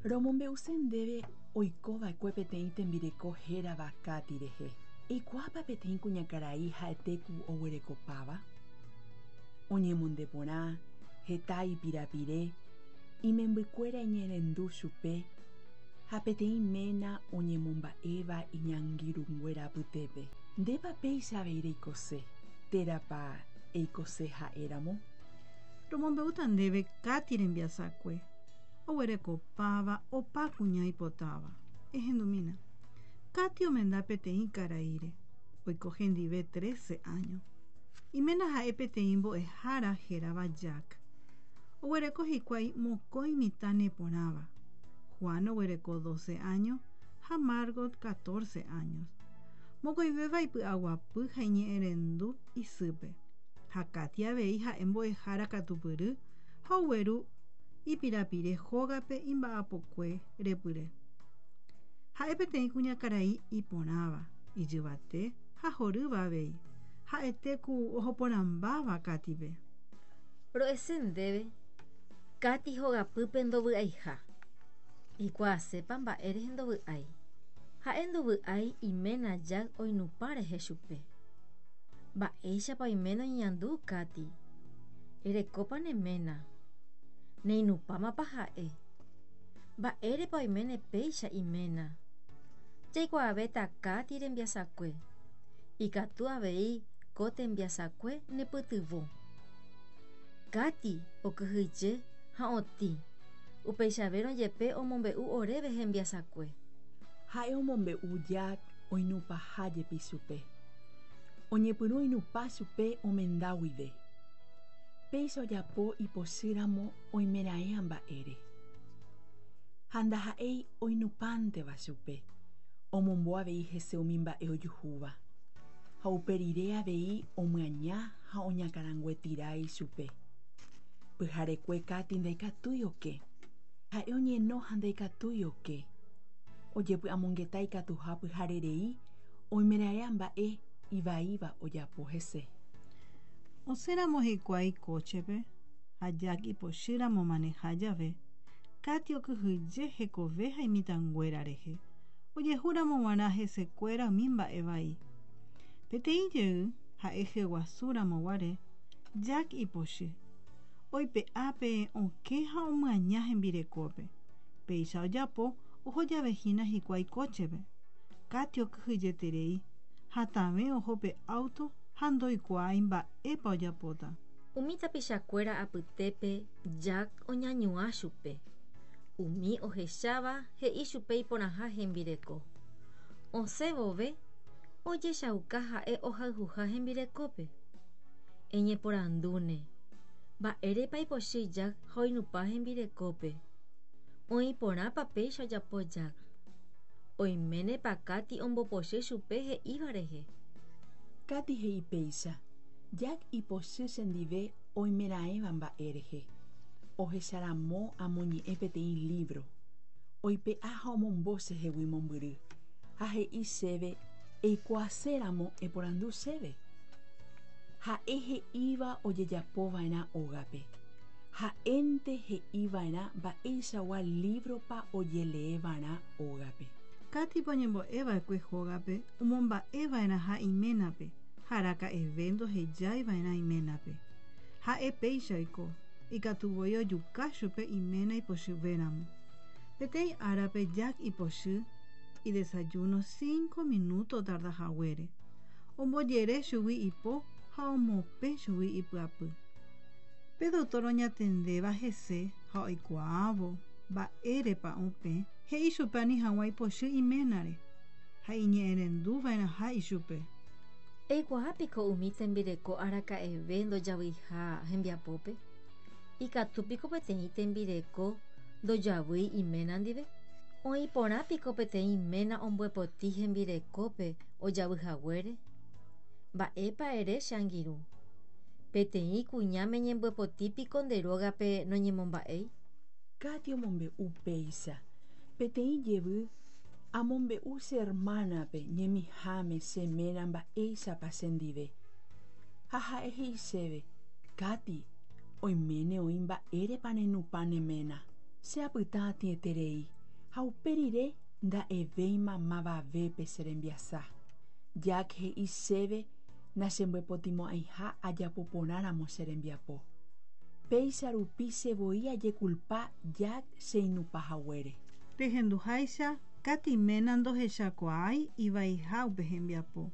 Romombe'use ndéve oikova'ekue peteĩ tembireko hérava Katy rehe. Eikuaápa peteĩ kuñakarai ha'ete ku oguerekopáva? Oñemonde porã, heta ipirapire, imembykuéra iñe'ẽrendu chupe ha peteĩ ména oñemomba'éva iñangirũnguéra apytépe. Ndépa péicha avei reikose, térãpa eikose ha'éramo? Romombe'úta ndéve Katy rembiasakue. Oguerekopáva opa kuña ipotáva. Ehendumína. Katy omenda peteĩ karaíre. Oiko hendive trece áño. Iména ha'e peteĩ mbo'ehára hérava Jack. Oguereko hikuái mokõi mitã neporãva. Juan oguereko doce áño ha Margot catorce años. Mokõivéva ipy'aguapy ha iñe'ẽrendu isýpe. Ha Katy avei ha'e mbo'ehára katupyry ha ogueru ipirapire hógape imba'apokue repyre. Ha'e peteĩ kuñakarai iporãva, ijyvate ha horýva avei, ha'ete ku ohoporãmbáva Katype. Ro'ese ndéve, Katy hogapýpe ndovy'aiha. Eikuaasépa mba'e rehe ndovy'ái. Ha'e ndovy'ái iména Jack oinupã rehe chupe. Mba'éichapa oiméne oñeñandu Katy? Erekópa ne ména? Neinupãmapa ha'e? Mba'érepa oiméne péicha iména? Jaikuaavéta Katy rembiasakue. Ikatu avei ko tembiasakue nepytyvõ. Katy okyhyje ha otĩ, upeichavérõ jepe omombe'u oréve hembiasakue. Ha'e omombe'u Jack oinupãha jepi chupe. Oñepyrũ oinupã chupe omenda guive. Péicha ojapo ipochýramo oimeraẽ mba'ére. Ha ndaha'éi oinupãnteva chupe, omombo avei hese umi mba'e ojuhúva. Ha upe rire avei omyaña ha oñakãranguetira ichupe. Pyharekue Katy ndaikatúi oke. Ha'e oñeno ha ndaikatúi oke. Ojepy'amongeta ikatuha pyhare rei oimeraẽ mba'e ivaíva ojapo hese. Osẽramo hikuái kóchepe ha Jack ipochýramo maneha jave, Katy okyhyje hekove ha imitãnguéra rehe, ojehúramo g̃uarã hesekuéra umi mba'e vai. Peteĩ jey, ha'e hyeguasúramo guare, Jack ipochy. Oipe'a pe okẽ ha omyaña hembirekópe. Péicha ojapo oho jave hína hikuái kóchepe. Katy okyhyjeterei, hatãve oho pe áuto ha ndoikuaái mba'épa ojapóta. Umi tapichakuéra apytépe Jack oñañuã chupe. Umi ohecháva he'i chupe iporãha hembireko. Osẽ vove, ojechauka ha'e ohayhuha hembirekópe. Eñeporandúne, Mba'érepa ipochy Jack ha oinupã hembirekópe? Oĩ porãpa péicha ojapo Jack? Oiménepa Katy ombopochy chupe he'íva rehe? Katy he'i péicha, Jack ipochy chendive oimeraẽva mba'e rehe. Ohecharamo amoñe'ẽ peteĩ lívro. Oipe'a ha omombo chehegui mombyry, ha he'i chéve eikuaaséramo eporandu chéve. Ha'e he'íva ojejapova'erã ógape. Ha'énte he'iva'erã mba'eichagua lívropa ojeleeva'erã ógape. Katype oñembo'eva'ekue hógape omomba'eva'erãha iménape ha araka'eve ndohejaiva'erã iménape. Ha'e péicha oiko, ikatu voi ojuka chupe iména ipochyvéramo. Peteĩ árape Jack ipochy idesayuno cinco minuto otarda haguére. Ombojere chugui ipo ha omopẽ chugui ipyapy. Pe doktór oñatendéva hese ha oikuaávo mba'érepa opẽ, he'i chupe ani hag̃ua ipochy iménare ha iñe'ẽrenduva'erãha ichupe. Eikuaa piko umi tembireko araka'eve ndojavyiha hembiapópe? Ikatu piko peteĩ tembireko ndojavýi iména ndive? Oĩ porã piko peteĩ ména ombyepoti hembirekópe ojavy haguére? Mba'épa ere che angirũ? Peteĩ kuñáme ñembyepoti piko nde rógape noñemomba'éi? Katy omombe'u péicha, Peteĩ jevy amombe'u che ermánape ñemiháme che ména mba'éichapa chendive. Ha ha'e he'i chéve, Katy, oiméne oĩ mba'érepa nenupã ne ména. Che apyta atĩeterei. Ha upe rire nda'evéima mavavépe che rembiasa. Jack he'i chéve nachembyepotimo'ãiha ajapo porãramo che rembiapo. Péicha rupi che voi ajekulpa Jack cheinupã haguére. Rehenduháicha, Katy ména ndohechakuaái ivaiha upe hembiapo.